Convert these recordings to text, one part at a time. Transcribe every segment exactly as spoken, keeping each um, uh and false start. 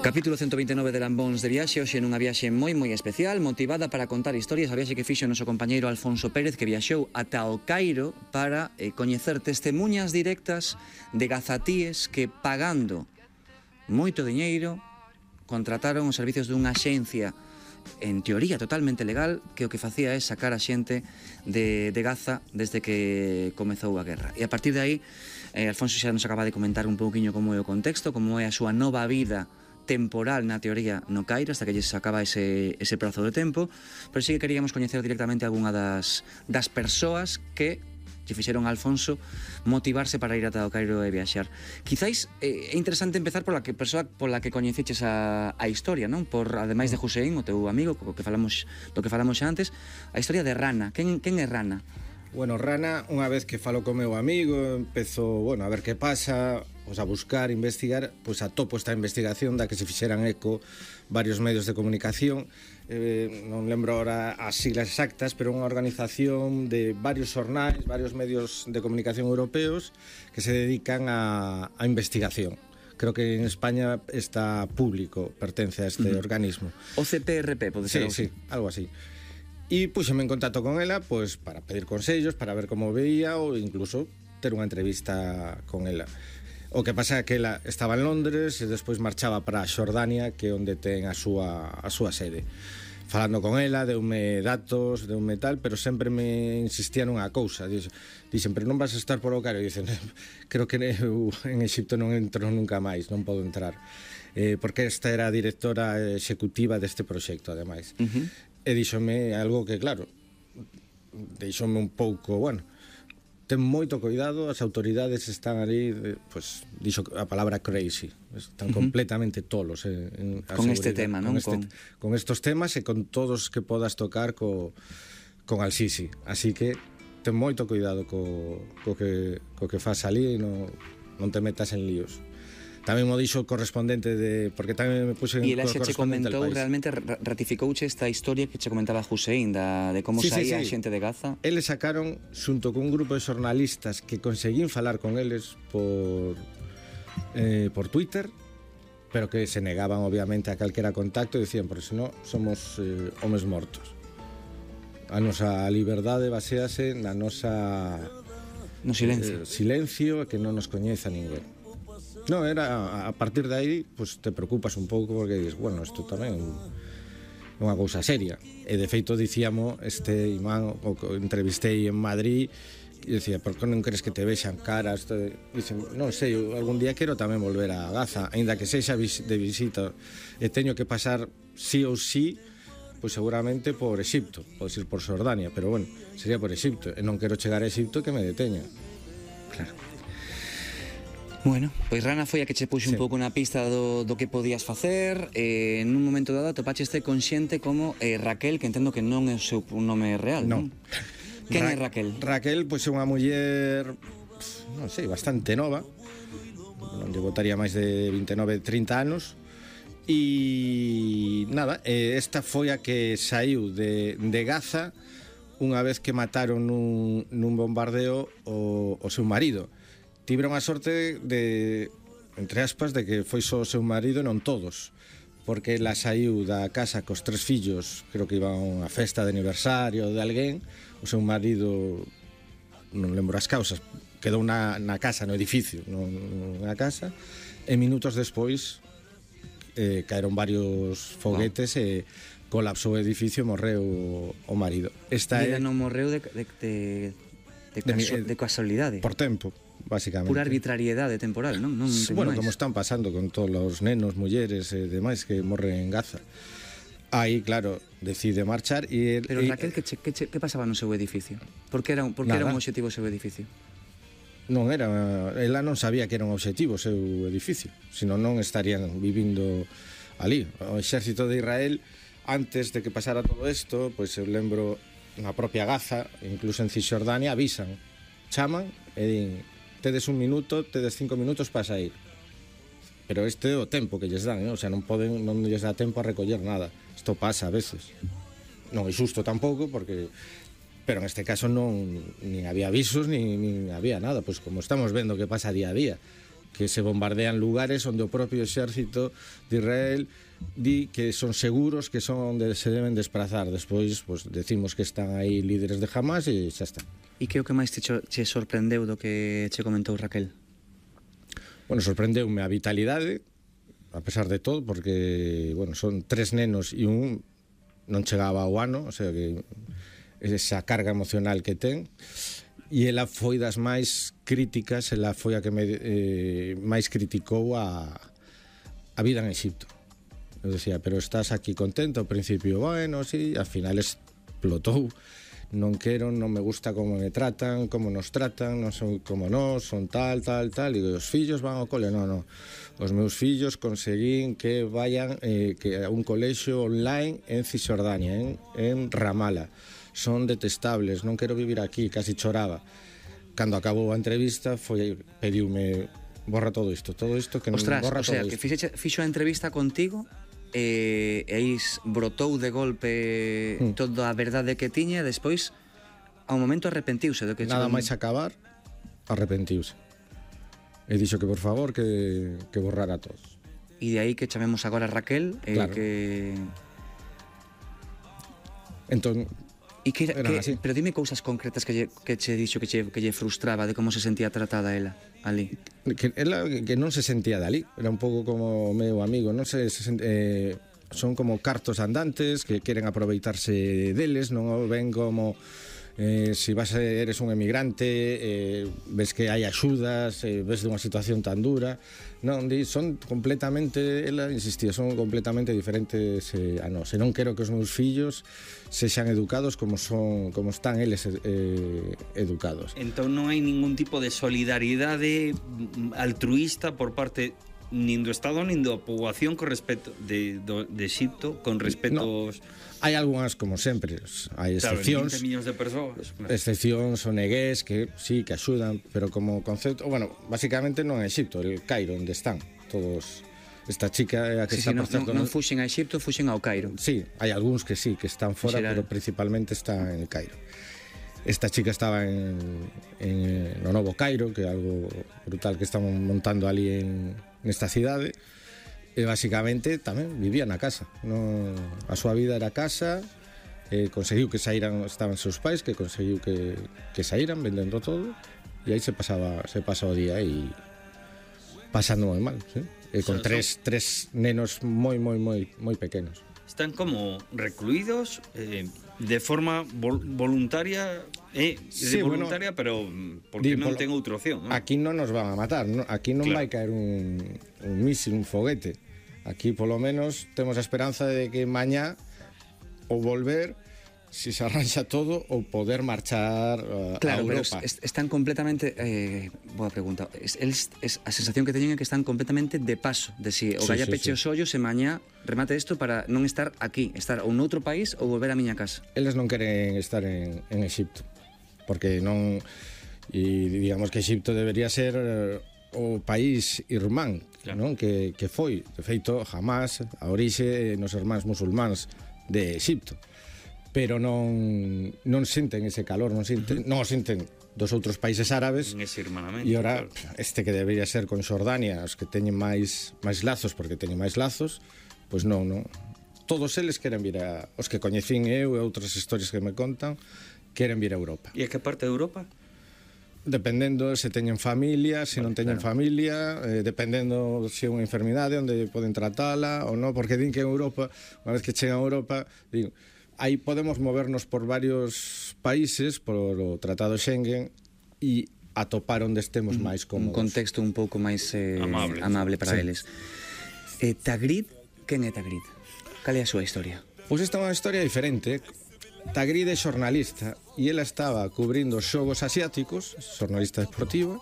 Capítulo ciento vinte e nove de Lambóns de Viaxe, hoxe nunha viaxe moi moi especial, motivada para contar historias, a viaxe que fixo o noso compañeiro Alfonso Pérez, que viaxou ata o Cairo para eh, coñecer testemunhas directas de gazatíes que, pagando moito diñeiro, contrataron os servicios dunha axencia en teoría totalmente legal, que o que facía é sacar a xente de, de Gaza desde que comezou a guerra. E a partir de aí, eh, Alfonso xa nos acaba de comentar un pouquiño como é o contexto, como é a súa nova vida temporal, na teoría, no Cairo, hasta que lles acaba ese, ese prazo de tempo, pero sí que queríamos coñecer directamente algunha das, das persoas que lle fixeron a Alfonso motivarse para ir ata o Cairo e viaxar. Quizáis eh, é interesante empezar pola que persoa pola que coñeceches a, a historia, non? Por, ademais de Hussein, o teu amigo, co que falamos, do que falamos xa antes, a historia de Rana. Quen, quen é Rana? Bueno, Rana, unha vez que falo co meu amigo, empezo, bueno, a ver que pasa, pois a buscar, investigar, pois atopo esta investigación da que se fixeran eco varios medios de comunicación, eh, non lembro ahora as siglas exactas, pero unha organización de varios xornais, varios medios de comunicación europeos que se dedican a, a investigación. Creo que en España está público, pertence a este uh-huh. organismo. O C P R P, pode ser? Sí, sí, algo así. E puxeme en contacto con ela, pois, para pedir consellos, para ver como veía ou incluso ter unha entrevista con ela. O que pasa é que ela estaba en Londres e despois marchaba para Xordania, que é onde ten a súa, a súa sede. Falando con ela, deume datos, deume tal, pero sempre me insistía nunha cousa. Dixen, pero non vas a estar por o Cairo? E dicen, creo que eu en Exipto non entro nunca máis, non podo entrar. Eh, porque esta era a directora executiva deste proxecto, ademais. Uh-huh. E díxome algo que, claro, deixoume un pouco, bueno, ten moito cuidado, as autoridades están ali, pues, dixo a palabra crazy, están uh-huh. completamente tolos en, en con este tema, non? Con, este, con... con estos temas e con todos que podas tocar co, con Al-Sisi, así que ten moito cuidado co, co, que, co que faz ali e non, non te metas en líos. Tamén mo dixo o correspondente de... Porque tamén me puse en e ela xa che comentou, realmente ratificouche esta historia que che comentaba Hussein da, de como sí, saía sí, sí. a xente de Gaza. Eles sacaron, xunto con un grupo de xornalistas que conseguín falar con eles por eh, por Twitter, pero que se negaban obviamente a calquera contacto e dicían, por senón somos eh, homes mortos. A nosa liberdade basease na nosa no silencio, eh, silencio que non nos coñeza ninguén. No, era a partir de aí, pues te preocupas un pouco porque dices, bueno, isto tamén é unha cousa seria. E de feito dicíamos este imán o que entrevistei en Madrid e dicía, por que non crees que te vexan caras? Dicen, non sei, algún día quero tamén volver a Gaza, aínda que sexa de visita e teño que pasar sí ou sí, pois seguramente por Exipto, podes ir por Xordania, pero bueno, sería por Exipto e non quero chegar a Exipto que me deteña. Claro. Bueno, pois Rana foi a que che puxe sí. un pouco na pista do, do que podías facer. eh, En un momento dado topaxeste con xente como eh, Raquel, que entendo que non é o seu nome real, non? non? Quen Ra é Raquel? Raquel, pois é unha muller, non sei, bastante nova, non lle botaría máis de vinte e nove, trinta anos. E nada, esta foi a que saiu de, de Gaza unha vez que mataron nun, nun bombardeo o, o seu marido. Tiveron a sorte de, entre aspas, de que foi só o seu marido e non todos, porque ela saiu da casa cos tres fillos, creo que iban a unha festa de aniversario de alguén, o seu marido, non lembro as causas, quedou na, na casa, no edificio, non na casa, e minutos despois eh, caeron varios foguetes wow. e colapsou o edificio e morreu o marido. Esta ela é... non morreu de, de, de, de, caso, de, de casualidade. Por tempo. Básicamente. Pura arbitrariedade temporal, non? non bueno, máis. Como están pasando con todos os nenos, mulleres e demais que morren en Gaza. Aí, claro, decide marchar e... El, Pero Raquel, que, che, que, che, que pasaba no seu edificio? Por que era, por que era un obxectivo o seu edificio? Non era... Ela non sabía que era un obxectivo o seu edificio, senón non estarían vivindo ali. O exército de Israel, antes de que pasara todo isto, pois eu lembro na propia Gaza, incluso en Cisjordania, avisan, chaman e din, tedes un minuto, tedes cinco minutos para sair. Pero este é o tempo que lles dan, ¿no? O sea, non poden, non lles dá tempo a recoller nada. Isto pasa a veces. Non é xusto tampouco, porque pero en este caso non nin había avisos, nin, nin había nada, pois como estamos vendo que pasa día a día. que se bombardean lugares onde o propio exército de Israel di que son seguros, que son onde se deben desplazar. Despois, pues, decimos que están aí líderes de Hamas e xa está. E que é o que máis te, cho, te sorprendeu do que che comentou Raquel? Bueno, sorprendeume a vitalidade, a pesar de todo, porque, bueno, son tres nenos e un non chegaba ao ano, o sea que esa carga emocional que ten. E ela foi das máis críticas, ela foi a que me, eh, máis criticou a, a vida en Egipto. Eu decía, pero estás aquí contento? Ao principio, bueno, sí, al final explotou. Non quero, non me gusta como me tratan, como nos tratan, non son como nós, son tal, tal, tal. E os fillos van ao cole? Non, non. Os meus fillos conseguín que vayan eh, que a un colexio online en Cisjordania, en, en Ramala. Son detestables, non quero vivir aquí, casi choraba. Cando acabou a entrevista, foi pediume borra todo isto, todo isto que non Ostras, borra o sea, todo que isto. fixo, fixo a entrevista contigo e, e aí brotou de golpe mm. toda a verdade que tiña e despois ao momento arrepentiuse do que nada chegou... máis acabar, arrepentiuse. E dixo que por favor que, que borrara todo. E de aí que chamemos agora a Raquel e claro. que... Entón, E que, que, así. pero dime cousas concretas que lle, que che dixo que lle, que lle frustraba de como se sentía tratada ela ali. Que ela que non se sentía dali, era un pouco como meu amigo, non se, se eh, son como cartos andantes que queren aproveitarse deles, non o ven como eh, si vas a, eres un emigrante, eh, ves que hai axudas, eh, ves de unha situación tan dura. Non, di, son completamente, ela insistía, son completamente diferentes eh, a nós. E non quero que os meus fillos sexan educados como son, como están eles eh, educados. Entón non hai ningún tipo de solidaridade altruísta por parte nin do Estado nin da poboación con respecto de, do, de Egipto con respecto aos... Hai algunhas, como sempre, hai excepcións. Claro, vinte millóns de persoas. Claro. Excepcións o negués que sí, que axudan, pero como concepto, bueno, basicamente non é Egipto, el Cairo, onde están todos. Esta chica é a que sí, está sí, por non, certo. Non fuxen a Egipto, fuxen ao Cairo. Sí, hai algúns que sí, que están fora, pero principalmente está en el Cairo. Esta chica estaba en, en no Novo Cairo, que é algo brutal que estamos montando ali en nesta cidade. E basicamente tamén vivía na casa, non, a súa vida era casa, eh, conseguiu que saíran, estaban seus pais, que conseguiu que, que saíran vendendo todo, e aí se pasaba se pasa o día e pasando moi mal, ¿sí? E con tres, tres nenos moi, moi, moi, moi pequenos. Están como recluídos eh, de forma vol voluntaria, eh, sí, de voluntaria, bueno, pero porque di, non polo, ten outra opción, ¿no? Aquí non nos van a matar, ¿no? Aquí non claro. vai caer un, un mísil, un foguete. Aquí polo menos temos a esperanza de que mañá ou volver, si se arranxa todo, ou poder marchar uh, claro, a Europa. Pero es, están completamente eh, boa pregunta. Es, es, es, a sensación que teñen é que están completamente de paso, de si o sí, galla sí, peche sí. os ollos e mañá remate isto para non estar aquí, estar ou noutro país ou volver á miña casa. Eles non queren estar en, en Egipto, porque non, e digamos que Egipto debería ser o país irmán, claro. Non? Que, que foi, de feito, jamás a orixe nos irmáns musulmáns de Egipto, pero non non senten ese calor, non senten, uh -huh. non senten dos outros países árabes. E ora claro. Este que debería ser con Xordania, os que teñen máis máis lazos, porque teñen máis lazos, pois non, non. Todos eles queren vir a, os que coñecín eu e outras historias que me contan, queren vir a Europa. E a que parte de Europa? Dependendo se teñen familia, se non teñen claro. familia, eh, dependendo se é unha enfermidade onde poden tratala ou non, porque din que en Europa, unha vez que chegan a Europa, din, aí podemos movernos por varios países por o Tratado Schengen e atopar onde estemos máis cómodos. Un contexto un pouco máis eh, amable. amable para sí. eles. Eh, Tagrid, quen é Tagrid? Cal é a súa historia? Pois esta é unha historia diferente. Tagrid é xornalista e ela estaba cubrindo os xogos asiáticos, xornalista deportiva,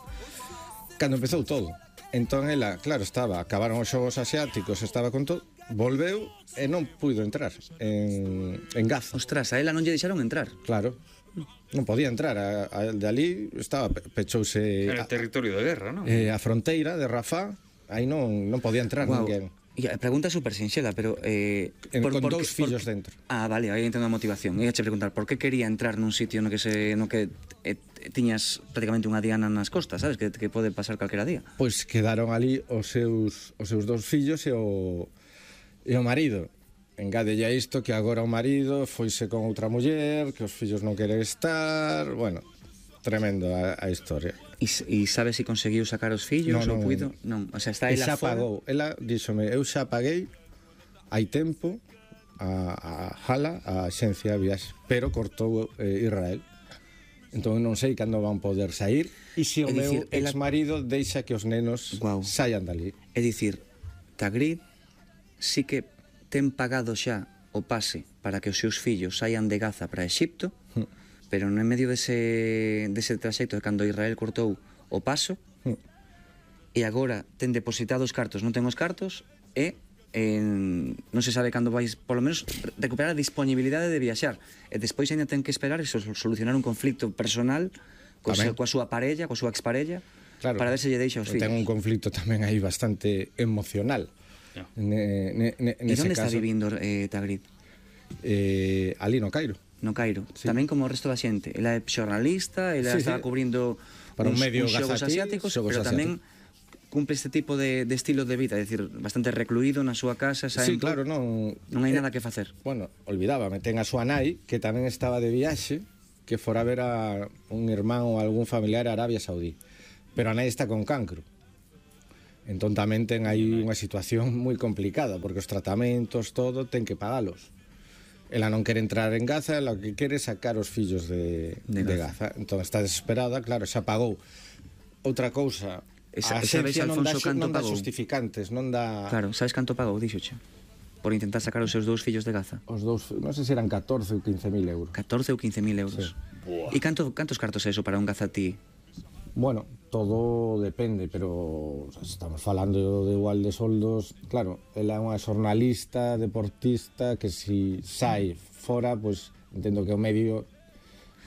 cando empezou todo. Entón ela, claro, estaba, acabaron os xogos asiáticos, estaba con todo, volveu e non puido entrar en, en Gaza. Ostras, a ela non lle deixaron entrar. Claro, non podía entrar, a, a, de ali estaba, pechouse... Era territorio de guerra, non? Eh, a fronteira de Rafah, aí non, non podía entrar wow. ninguén. E a pregunta é super sinxela, pero... Eh, en, por, con por, dous por, fillos por, dentro. Ah, vale, aí entendo a motivación. Ia che preguntar, por que quería entrar nun sitio no que se no que e tiñas prácticamente unha diana nas costas, sabes, que, que pode pasar calquera día. Pois quedaron ali os seus, os seus dous fillos e o, e o marido. Engádelle a isto que agora o marido foise con outra muller, que os fillos non queren estar, bueno, tremendo a, a historia. E, e sabes se si conseguiu sacar os fillos non, non, ou puido? Non, o sea, está e ela xa fora. pagou, ela díxome, eu xa paguei hai tempo a, a Hala, a axencia de viaxe, pero cortou eh, Israel. Entón non sei cando van poder sair e se o É meu dicir, ela- exmarido deixa que os nenos Guau. saian dali. É dicir, Tagrid sí que ten pagado xa o pase para que os seus fillos saian de Gaza para Exipto, Mm. pero no en medio dese, dese traxecto de cando Israel cortou o paso, Mm. e agora ten depositado os cartos, non ten os cartos, e en, non se sabe cando vais, polo menos, recuperar a disponibilidade de viaxar. E despois ainda ten que esperar e so- solucionar un conflicto personal coa, Tamén. súa- coa súa parella, coa súa exparella, Claro, para ver se lle deixa os fillos. ten un conflicto tamén aí bastante emocional. Ya. Ne, ne, ne, E nese onde está caso, vivindo eh, Tagrid? eh, ali no Cairo. No Cairo, Sí. tamén como o resto da xente. Ela é xornalista, ela Sí, estaba sí. cubrindo Para un uns, medio uns xogos gazatí, asiáticos, xogos pero tamén cumple este tipo de, de estilo de vida, é dicir, bastante recluído na súa casa, saen Sí, claro, non... non hai eh, nada que facer. Bueno, olvidábame, ten a súa nai, que tamén estaba de viaxe, que fora a ver a un irmán ou algún familiar a Arabia Saudí. Pero a nai está con cancro. Entón tamén ten aí unha situación moi complicada, porque os tratamentos, todo, ten que pagalos. Ela non quere entrar en Gaza, ela o que quere é sacar os fillos de, De de, Gaza. Gaza. Entón está desesperada, claro, xa pagou. Outra cousa, Esa- a esa vez axencia non dá, Alfonso xu- canto non dá pagou? justificantes, non dá... Claro, sabes canto pagou, dixoche? Por intentar sacar os seus dous fillos de Gaza. Os dous, non sei se eran catorce ou quince mil euros. catorce ou quince mil euros. Buah. E canto, cantos cartos é eso para un gazatí? Bueno, todo depende, pero estamos falando de igual de soldos. Claro, ela é unha xornalista, deportista, que si sai fora, pois entendo que o medio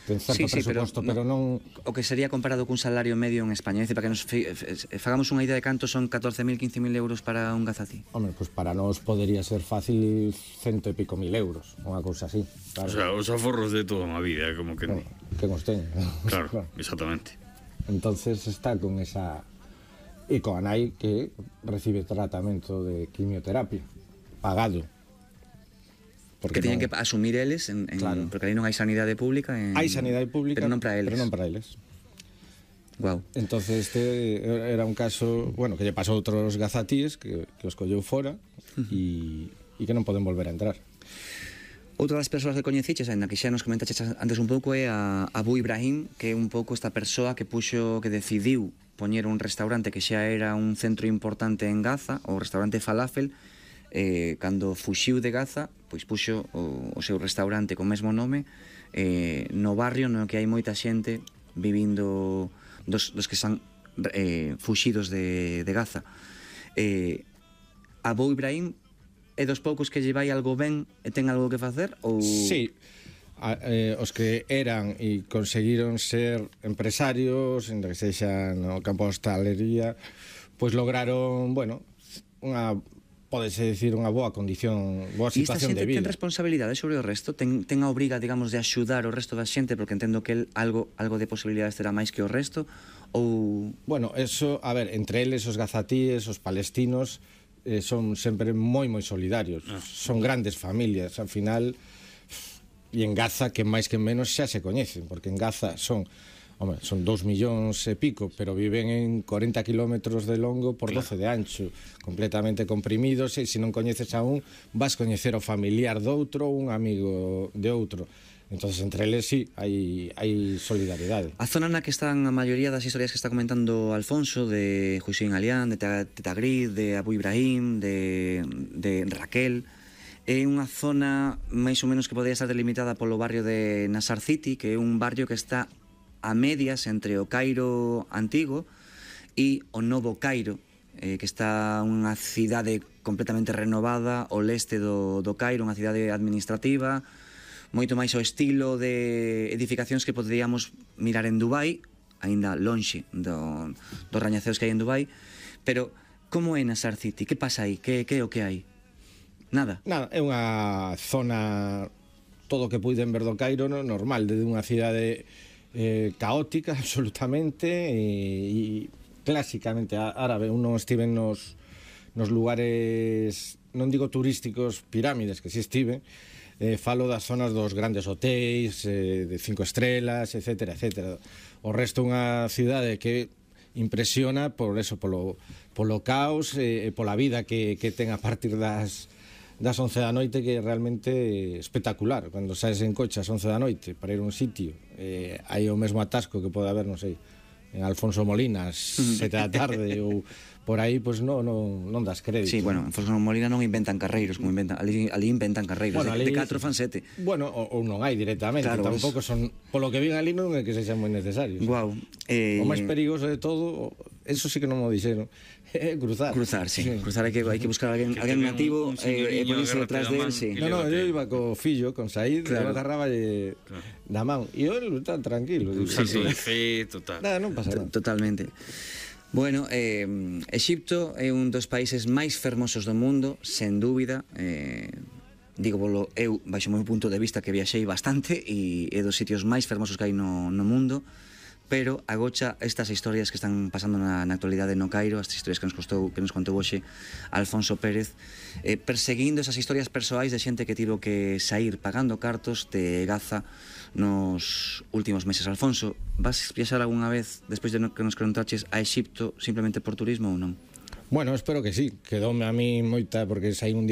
ten certo Sí, sí, pero presuposto, pero, no- non... O que sería comparado cun salario medio en España. É dicir, para que nos fi- f- fagamos unha idea de canto son catorce mil, quince mil euros para un gazatí. Home, pois para nós podería ser fácil cento e pico mil euros, unha cousa así. O Claro, sea, os aforros de toda unha vida, como que... bueno, que nos teña. Claro, exactamente. Entonces está con esa... E coa nai que recibe tratamento de quimioterapia, pagado. Que teñen que non- asumir eles, en, en, Claro. porque aí non hai sanidade pública. En, Hai sanidade pública, Pero non para eles. Pero non para eles. Guau. Entonces este era un caso, bueno, que lle pasou a outros gazatíes que, que os colleu fora e, e que non poden volver a entrar. Outra das persoas que coñeciches, ainda que xa nos comentaches antes un pouco, é a Abu Ibrahim, que é un pouco esta persoa que puxo, que decidiu poñer un restaurante que xa era un centro importante en Gaza, o restaurante Falafel, eh, cando fuxiu de Gaza, pois puxo o, o seu restaurante co mesmo nome eh, no barrio no que hai moita xente vivindo dos, dos que están eh, fuxidos de, de Gaza. Eh, Abu Ibrahim é dos poucos que lle vai algo ben e ten algo que facer? Ou... Sí, a, eh, os que eran e conseguiron ser empresarios, en que sexa no campo da hostalería, pois lograron, bueno, unha pódese dicir unha boa condición, boa E esta situación xente de vida. ten responsabilidade sobre o resto? Ten, ten a obriga, digamos, de axudar o resto da xente, porque entendo que el algo, algo de posibilidades terá máis que o resto? Ou... Bueno, eso, a ver, entre eles os gazatíes, os palestinos, eh, son sempre moi moi solidarios. Ah. Son grandes familias, ao final, e en Gaza, que máis que menos xa se coñecen, porque en Gaza son, home, son dous millóns e pico, pero viven en corenta kilómetros de longo por doce de ancho, completamente comprimidos, e se non coñeces a un, vas coñecer o familiar de outro ou un amigo de outro. Entonces, entre eles, sí, hai, hai solidaridade. A zona na que están a maioría das historias que está comentando Alfonso, de Hussein Alián, de Tagrid, de Abu Ibrahim, de, de Raquel, é unha zona máis ou menos que podría estar delimitada polo barrio de Nasar City, que é un barrio que está a medias entre o Cairo antigo e o novo Cairo, eh, que está unha cidade completamente renovada ao leste do, do Cairo, unha cidade administrativa, moito máis o estilo de edificacións que poderíamos mirar en Dubai, aínda lonxe do, dos rañaceos que hai en Dubai, pero como é Nasar City? Que pasa aí? Que, que é o que hai? Nada. Nada, é unha zona, todo o que puiden ver do Cairo, no, normal, desde unha cidade eh, caótica absolutamente e, e clásicamente árabe. Un non estive nos, nos lugares, non digo turísticos, pirámides, que si estive, eh, falo das zonas dos grandes hotéis, eh, de cinco estrelas, etcétera, etcétera. O resto unha cidade que impresiona por eso, polo, polo caos e, e pola vida que, que ten a partir das das once da noite, que é realmente espectacular. Cando saes en coche ás once da noite para ir a un sitio, eh, hai o mesmo atasco que pode haber, non sei, en Alfonso Molina ás sete da tarde ou por aí, pois non, non, non das crédito. Sí, bueno, en Alfonso Molina non inventan carreiros, como inventan, ali, ali inventan carreiros, bueno, de, ali, de catro fan sete. Bueno, ou, ou non hai directamente, claro, tampouco son, polo que vin ali non é que sexan moi necesarios. Guau. Eh... O máis perigoso de todo, eso sí que non mo dixeron, é cruzar. Cruzar, sí, sí. Cruzar hai que, hai que buscar alguén, alguén nativo e eh, ponerse detrás de él, sí. No, no, eu iba co fillo, con Said, claro. Eu agarraba eh, claro. da man, e eu tan tranquilo. Un salto sí, sí. de fe, total. Nada, non pasa nada. Totalmente. Bueno, eh, Exipto é un dos países máis fermosos do mundo, sen dúbida. Eh, digo, bolo, eu, baixo o meu punto de vista, que viaxei bastante e é dos sitios máis fermosos que hai no, no mundo, pero agocha estas historias que están pasando na, na actualidade no Cairo, estas historias que nos costou, que nos contou hoxe Alfonso Pérez, eh, perseguindo esas historias persoais de xente que tivo que sair pagando cartos de Gaza nos últimos meses. Alfonso, vas viaxar algunha vez, despois de que nos contaches, a Exipto simplemente por turismo ou non? Bueno, espero que sí, quedoume a mí moita, porque saí un día